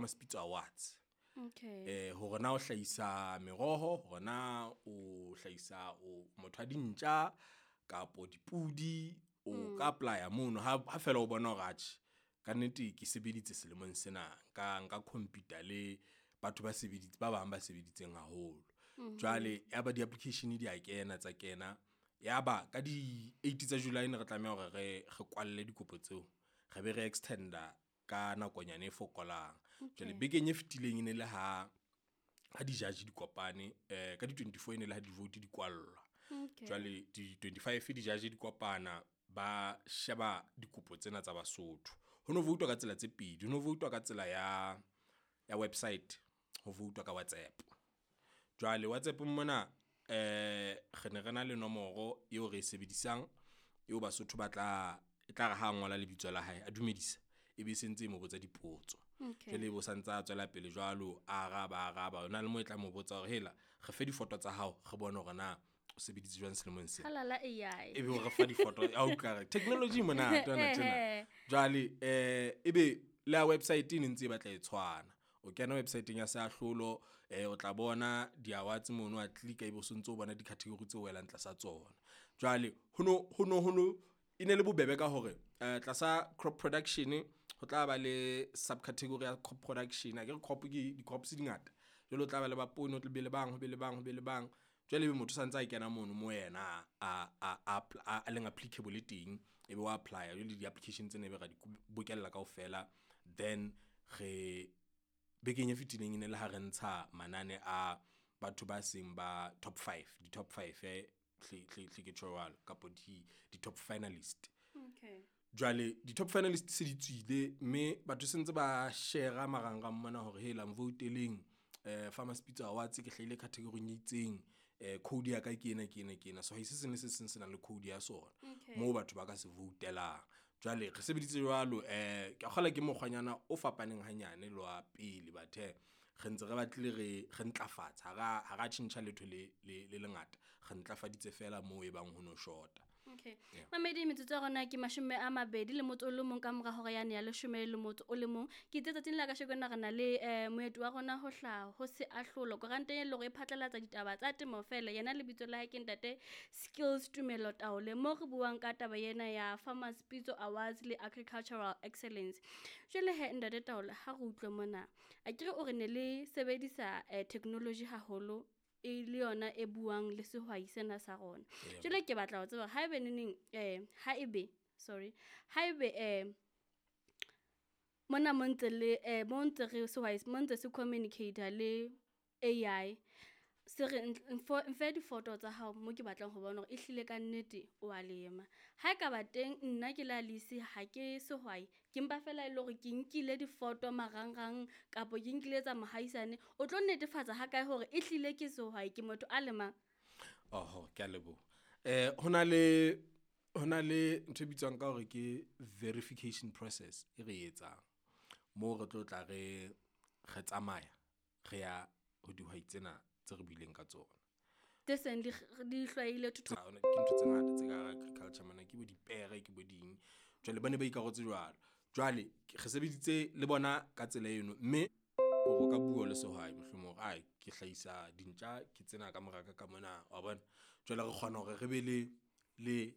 Farmers Pitso Awards. Okay. Hore na o hlahisa meroho, hore na o hlahisa o motho wa dintja kapo dipudi, o ka apply-a mono ha fela o bona hore atjhe kannete ke sebeditse selemong sena, nka compete-a le batho ba ba bang ba sebeditseng haholo. Jwale ya ba di-application di a kena tsa kena, ya ba ka di eight tsa July ne re tlameha hore re kwalle dikopo tseo, re be re extend-a ka nakonyana e fokolang. Jwale bekeng e fetileng e ne le ha, ha di-judge di kopane ka di 24 e ne le ha di-vote di kwallwa. Okay. Jwale di 25 di-judge di kopana, ba sheba dikopo tsena tsa Basotho. Ho no voutwa ka tsela tse pedi, ho no voutwa ka tsela ya website, ho voutwa ka WhatsApp. Jwale WhatsApp-ong mona re ne re na le nomoro eo re e sebedisang eo Basotho ba tla, e tlare ha ngola lebitso la hae, a dumedisa ebe e sentse e mo botsa dipotso. Okay. Jwale ebe o santsa a tswela pele jwalo, a araba araba. Hona le moo e tla mo botsa hore hela re fe difoto tsa hao, re bone hore na o sebeditse jwang selemong sena. Halala AI. Ebe o re fa difoto a utlwa technology e monate hona tjena. Jwale ebe le ya website e ne ntse e batla e tshwana. O kena website-eng ya seahlolo, o tla bona di-awards mono wa click-a ebe o sontso o bona di-category tse welang tlasa tsona. Jwale ho no e ne le bobebe ka hore tlasa crop production ho tla ba le sub-category ya crop production. Akere crop ke di-crops di ngata. Jwale o tla ba le ba poone, ho tla be le bang, ho be le bang, ho be le bang. Jwale ebe motho o santse a kena mono mo yena a leng applicable teng, ebe wa apply-a. Jwale di-application tsena ebe ra di bokella kaofela. Then re bekeng e fetileng e ne le ha re ntsha manane a batho ba seng ba top five, di-top five hle hle ke tjho jwalo kapo di-top finalist. Okay. Jwale di-top finalist se di tswile mme batho se ntse ba shera marangrang mona hore hela nvouteleng Farmers Pitso Awards ke hlahile category-ing e itseng. Code ya ka ke ena, ke ena, ke ena. Sehwai se seng le se seng se nang le code ya sona moo batho ba ka se voutelang. Jwale re sebeditse jwalo ke a kgolwa ke mokgwanyana o fapaneng hanyane le wa pele, but hee re ntse re batlile re ntlafatsa ha ra tjhentjha letho le lengata, re ntlafaditse feela moo e bang ho no shota. Okay. Yeah. Mamedi, metsotso ya rona ke 21 ka mora hora yane ya 11. Ke itse tsatsing la kasheko na re na le moeti wa rona ho hlaha ho se ahlolo koranta e leng hore e phatlalatsa ditaba tsa temo fela. Yena lebitso la hae ke ntate Skills Tumelo Taole, mo re buang ka taba ena ya Farmers Pitso Awards le Agricultural Excellence. Jwale he ntate Taole, ha re utlwe mona, akere o re ne le sebedisa technology haholo e le yona e buang le sehwai sena sa rona. Jwale ke batla ho tseba haebe neneng haebe sorry haebe mona mo ntse le mo ntse re sehwai mo ntse se communicate le AI, se re mfe difoto tsa hao mo ke batlang ho bona hore ehlile ka nnete o a lema. Ha ekaba teng nna ke le Alice ha ke sehwai, ke mpa fela e le hore ke nkile difoto marangrang kapo ke nkile tsa mohaisane, o tlo netefatsa ha kae hore ehlile ke sehwai, ke motho a lemang? Oho, ke a leboha. Ho na le ntho e bitswang ka hore ke verification process e re etsang moo re tlo tla re tsamaya re ya ho dihwai tsena tse re buileng ka tsona. Tse seng di hlwaile thotho. Ke ntho tse ngata tse ka hara agriculture mona, ke bo dipere, ke bo ding. Jwale ba ne ba ikarotse jwalo. Jwale re sebeditse le bona ka tsela eno, mme o ka bua le sehwai mohlomong hore ai ke hlahisa dintja ke tsena ka moraka ka mona wa bona. Jwale re kgona hore re be le.